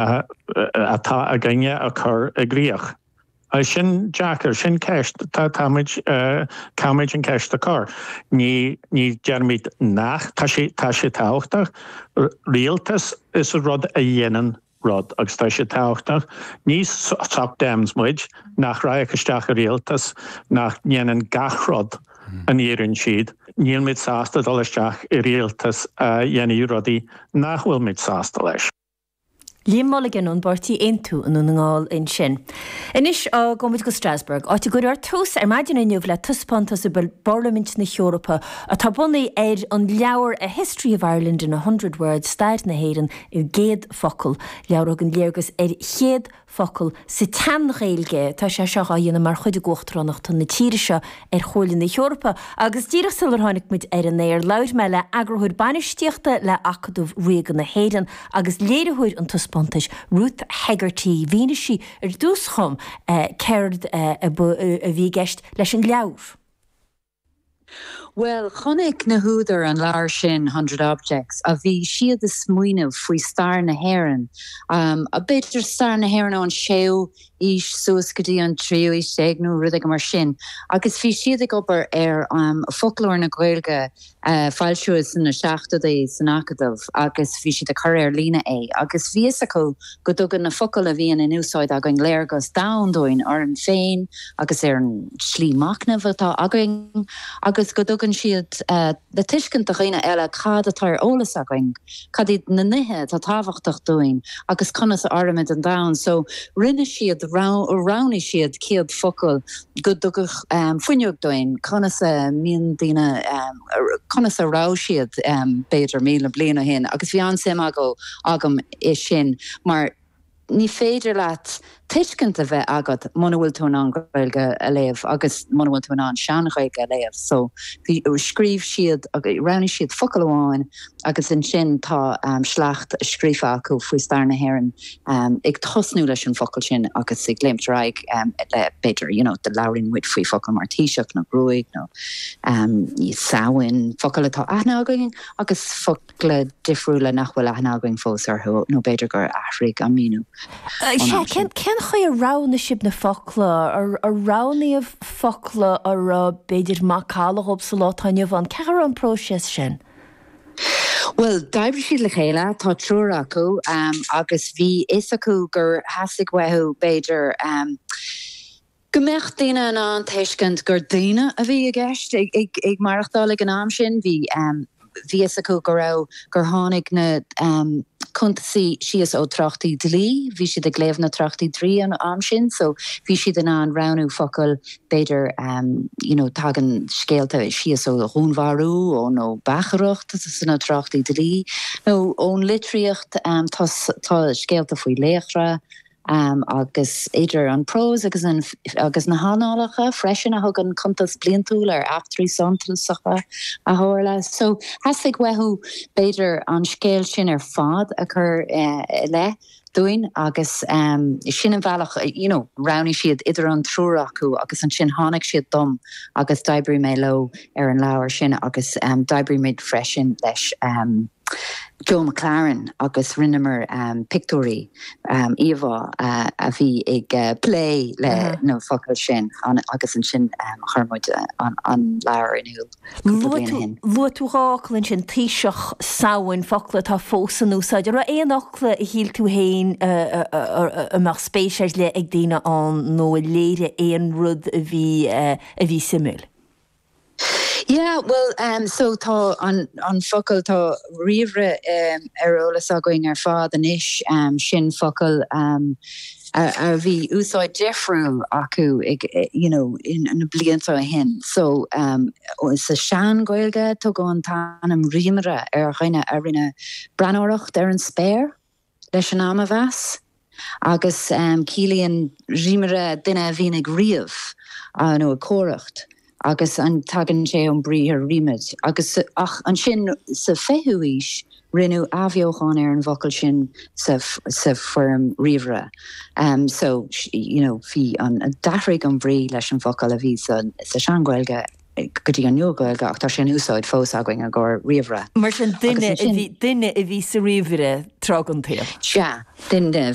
atá againne a chur i gcrích. Sin deacair, sin ceist, táimid, caithfimid an ceist a chur. Ní, ní deirimid nach, tá sé, tá sé tábhachtach. Rialtas is rud a dhéanann rud agus tá sé tábhachtach. Ní sock dems muid nach raghadh isteach i rialtas nach ndéanann gach rud a n-iarrann siad. Nílmid sásta dul isteach i rialtas a dhéanfaidh rudaí nach bhfuilmid sásta leis. Liam Mulligan ón bpáirtí Aontú i nDún na nGall ansin. Anois gabhfaidh muid go Strasbourg, áit a gcuirfear tús ar maidin inniu le taispeántas i bParlaimint na hEorpa atá bunaithe ar an leabhar A History of Ireland in a Hundred Words, Stair na hÉireann i gCéad Focal, leabhar a thugann léargas ar chéad focal sa tSean-Ghaeilge. Tá sé seo á dhéanamh mar chuid d'uachtaránacht na tíre seo ar Chomhairle na hEorpa. Agus díreach sular tháinig muid ar an aer, labhair mé le Eagarthóir Bainistíochta le Acadamh Ríoga na hÉireann agus léiritheoir an taispeántais, Ruth Hegarty. Mhínigh sí ar dtús dhom céard a bhí i gceist leis an leabhar. Bhuel, chonaic na húdair an leabhar sin, Hundred Objects, a bhí siad ag smaoineamh faoi stair na hÉireann, b'fhéidir stair na hÉireann ón séú aois suas go dtí an tríú haois déag nó rud éigin mar sin, agus bhí siad ag obair ar foclóir na Gaeilge a foilsíodh sna seachtóidí san Acadamh agus bhí siad ag cur ar líne é agus bhí fhios acu go dtugann na focail a bhíonn in úsáid againn léargas domhain dúinn orainn féin agus ar an slí machnaimh atá againn agus go dtugann siad le tuiscint do dhaoine eile cad atá ar eolas againn, cad iad na nithe atá tábhachtach dúinn agus conas a airímid an domhan. So rinne siad, roghnaigh siad 100 focal go dtugfadh fuinneog dúinn conas a mbíonn daoine, conas a raibh siad b'fhéidir 1,000 bliain ó shin agus bhí an-suim agam i sin mar ní féidir leat tuiscint a bheith agat muna bhfuil tú in ann Gaeilge a léamh agus muna bhfuil tú in ann sean-Ghaeilge a léamh. So bhí, scríobh siad, roghnaigh siad focal amháin agus ansin tá sleacht scríofa acu faoi stair na hÉireann ag tosnú leis an bhfocal sin agus ag léimt ar aghaidh le b'fhéidir, you know, labhraíonn muid faoi focail mar taoiseach nó gruaig nó Samhain, focail atá aithne againn agus focla difriúla nach bhfuil aithne againn fós orthu, nó b'fhéidir gur athraigh an míniú ón Sea, am sin. cén chaoi a roghnaigh sibh na focla? Ar roghnaíodh focla a raibh, b'fhéidir, macalla dhóibh sa lá atá inniu ann? Cén chaoi a raibh an próiseas sin? Bhuel, d'oibrigh siad le chéile, tá triúr acu, agus bhí fhios acu gur theastaigh uathu, b'fhéidir, Go mbeadh daoine in ann tuiscint gur daoine a bhí i gceist ag maireachtáil ag an am sin. Bhí bhí fhios acu go raibh, gur tháinig na cuntasaí síos ó tráchtaí dlí, bhí siad ag léamh na tráchtaí dlí an am sin so bhí siad in ann roghnú focail b'fhéidir you know tagann scéalta síos ó dhúnmharú ó nó beachaireacht sna tráchtaí dlí nó ón litríocht tá tá scéalta faoi laochra agus idir an prós agus an agus na hannálacha freisin a thugann cuntas bliantúil ar eachtraí suntasacha a tharla. So theastaigh uathu b'fhéidir an scéal sin ar fad a chur i leith dúinn agus sin an bhealach you know roghnaigh siad idir an triúr acu agus ansin tháinig siad dom agus d'oibrigh mé leo ar an leabhar sin agus d'oibrigh muid freisin leis Joe McLaren agus rinneamar pictiúirí, íomhá a bhí ag plé le na focail sin agus ansin chuir muid an leabhar in iúl cúpla bliain ó shin. Luaigh tú dhá fhocal ansin, taoiseach, Samhain, focla atá fós in úsáid. An raibh aon fhocla a shíl tú féin a mbeadh spéis ar leith ag daoine ann nó a léirigh aon rud a bhí a bhí suimiúil? Yeah, bhuel, um, so tá an, an focal, tá ríomhaire um, ar eolas againn ar fad anois, um, sin focal um, a, a bhí úsáid difriúil acu ag, you know, in, na blianta ó shin. So, um, sa sean-Ghaeilge tugadh an t-ainm rímaire ar dhuine a rinne breathnóireacht ar an spéir. leis an am a mheas, agus ciallaíonn rímaire duine a bhíonn ag ríomh nó ag comhaireacht, agus tagann sé ón briathar rímaid. Agus ach ansin sa 20ú haois rinneadh athbheochan ar an bhfocal sin sa sa foirm ríomhaire. So you know bhí an d'athraigh an bhrí leis an bhfocal a bhí sa sa sean-Ghaeilge. go dtí an Nua-Ghaeilge ach tá sé in úsáid fós againn i gcomhair ríomhaire. Mar sin, duine a bhí, duine a bhí sa ríomhaire tráth den tsaol. Sea, duine a bhí.